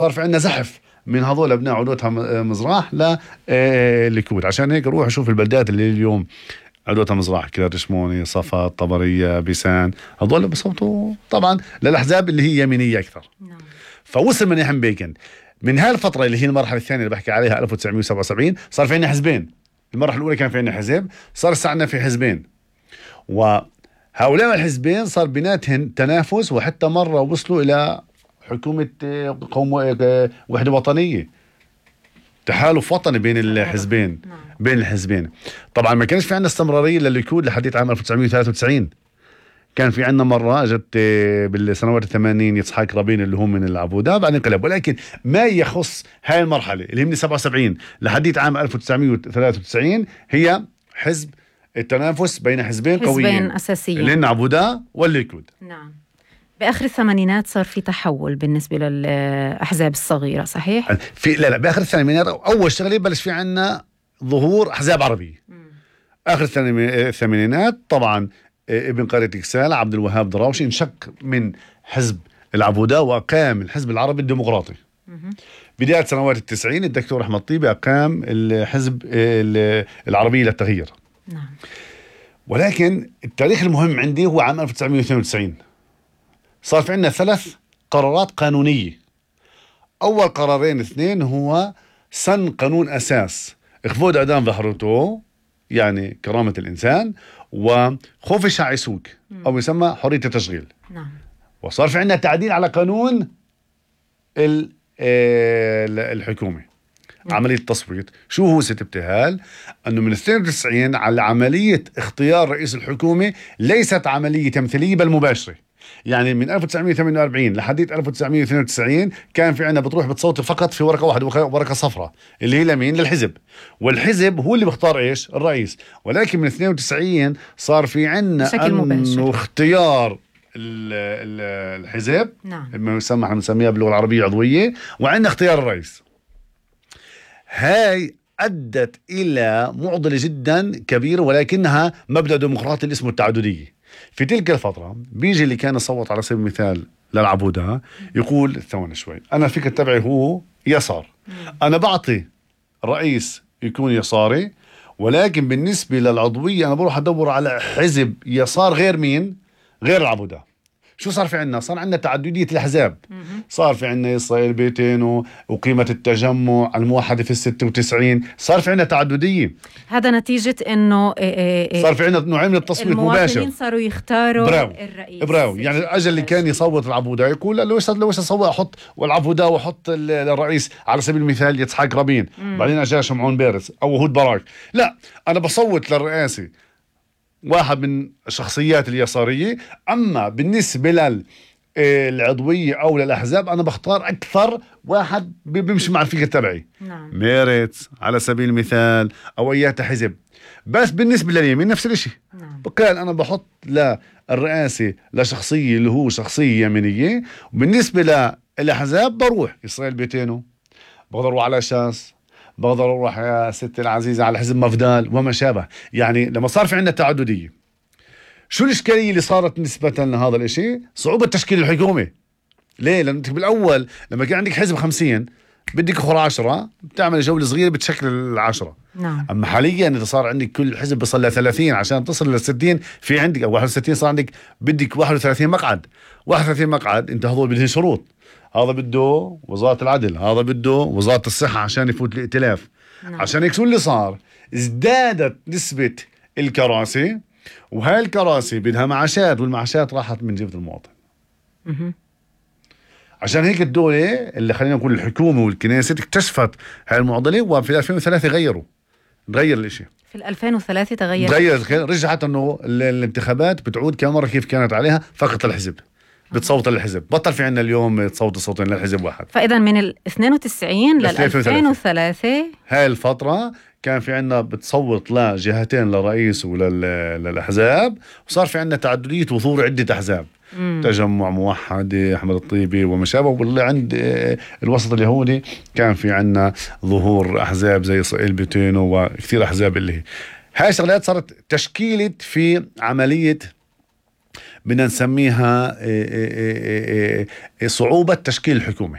صار في عندنا زحف من هذول ابناء عدوتها مزراح لليكود. عشان هيك روح شوف البلدات اللي اليوم عدوتها مزراح، كرار شموني، صفا، طبرية، بيسان، هذول بصوتوا طبعا للأحزاب اللي هي يمينية أكثر. فوصل منيح بيكن من هالفترة اللي هي المرحلة الثانية اللي بحكي عليها 1977 صار في عندنا حزبين. المرحلة الأولى كان في عندنا حزب، صار عندنا في حزبين، وهؤلاء الحزبين صار بيناتهم تنافس، وحتى مرة وصلوا إلى حكومة قوم وحدة وطنية، تحالف وطني بين الحزبين. بين الحزبين طبعا ما كانش في عندنا استمرارية للليكود لحديت عام 1993. كان في عندنا مرة اجت بالسنوات 80 يسحاق رابين اللي هو من العبودة بعدين انقلب. ولكن ما يخص هاي المرحلة اللي هي من 77 لحديت عام 1993 هي حزب التنافس بين حزبين قويين أساسيين، لأن عبودة والليكود. نعم. بآخر الثمانينات صار في تحول بالنسبة للأحزاب الصغيرة، صحيح؟ لا بآخر الثمانينات أول شغلة بلش في عنا ظهور أحزاب عربية. آخر الثمانينات طبعا ابن قرية إكسال عبد الوهاب دراوشي انشق من حزب العبودة وأقام الحزب العربي الديمقراطي. بداية سنوات 90 الدكتور أحمد طيبة أقام الحزب العربي للتغيير. نعم. ولكن التاريخ المهم عندي هو عام 1992 صار في عندنا 3 قرارات قانونية. أول قرارين 2 هو سن قانون أساس إخفاض إعدام ظهرته يعني كرامة الإنسان، وخوف الشعب يسوق أو يسمى حرية التشغيل. نعم. وصار في عندنا تعديل على قانون الحكومة. عملية التصويت شو هو ست ابتهال أنه من 92 على عملية اختيار رئيس الحكومة ليست عملية تمثيلية بل مباشرة. يعني من 1948 لحديت 1992 كان في عنا بتروح بتصوت فقط في ورقة واحدة، ورقة صفراء اللي هي لمين؟ للحزب، والحزب هو اللي بيختار ايش؟ الرئيس. ولكن من 92 صار في عنا انه اختيار الحزب، نعم، احنا بنسميها باللغة العربية عضوية، وعندنا اختيار الرئيس. هاي أدت إلى معضلة جدا كبيرة، ولكنها مبدأ ديمقراطي اللي اسمه التعددية. في تلك الفترة بيجي اللي كان يصوت على سبيل المثال للعبودة يقول ثواني شوي، أنا الفكر تبعي هو يسار، أنا بعطي رئيس يكون يساري، ولكن بالنسبة للعضوية أنا بروح أدور على حزب يسار غير مين؟ غير العبودة. شو صار في عنا؟ صار عنا تعددية الأحزاب. صار في عنا إسرائيل بيتينو وقيمة التجمع الموحدة في 96. صار في عنا تعددية. هذا نتيجة إنه صار في عنا نوعين من التصويت مباشر. المواطنين صاروا يختاروا الرئيس. براو. يعني الأجل اللي كان يصوت العبودة يقول لو أصوت أحط والعبودة وأحط الرئيس على سبيل المثال يسحاق رابين، بعدين أجا شمعون بيرس أو هود براك. لا، أنا بصوت للرئاسي واحد من الشخصيات اليسارية. أما بالنسبة للعضوية أو للأحزاب أنا بختار أكثر واحد بيمشي مع الفكر تبعي. نعم. ميرت على سبيل المثال أو أيات حزب. بس بالنسبة لليمين نفس الشيء. نعم. بقال أنا بحط للرئاسة لشخصية اللي هو شخصية يمينية، وبالنسبة للأحزاب بروح إسرائيل بيتينو، بقدر أروح على شاس، بقدر أروح يا ستي العزيزة على حزب مفدال وما شابه. يعني لما صار في عندنا تعددية، شو الإشكالية اللي صارت نسبة لهذا الاشي؟ صعوبة تشكيل الحكومة. ليه؟ لأن بالأول لما كان عندك حزب 50 بدك أخر 10 بتعمل جولة صغيرة بتشكل 10. نعم. أما حاليا إذا صار عندك كل حزب بصل ل 30 عشان تصل ل 60 في عندك أو 61 صار عندك بدك 31 مقعد. 31 مقعد أنت هذول بدهم شروط. هذا بده وزارة العدل، هذا بده وزارة الصحة عشان يفوت الائتلاف. نعم. عشان هيك شو اللي صار؟ ازدادت نسبة الكراسي، وهاي الكراسي بدها معاشات، والمعاشات راحت من جيب المواطن. عشان هيك الدولة اللي خلينا نقول الحكومة والكنيسة اكتشفت هاي المعضلة، وفي 2003 تغير الاشي. في 2003 تغير، رجعت انه الانتخابات بتعود كمرة كيف كانت عليها، فقط الحزب بتصوت للحزب، بطل في عنا اليوم تصوت صوتين للحزب واحد. فإذا من 92 لل 2003 هاي الفترة كان في عنا بتصوت لجهتين، للرئيس وللأحزاب، وصار في عنا تعددية وظهور عدة أحزاب. تجمع، موحد، أحمد الطيبي وما شابه. واللي عند الوسط اليهودي كان في عنا ظهور أحزاب زي إسرائيل بيتينو وكثير أحزاب. اللي هاي شغلات صارت تشكيلة في عملية بدنا نسميها صعوبة تشكيل الحكومة.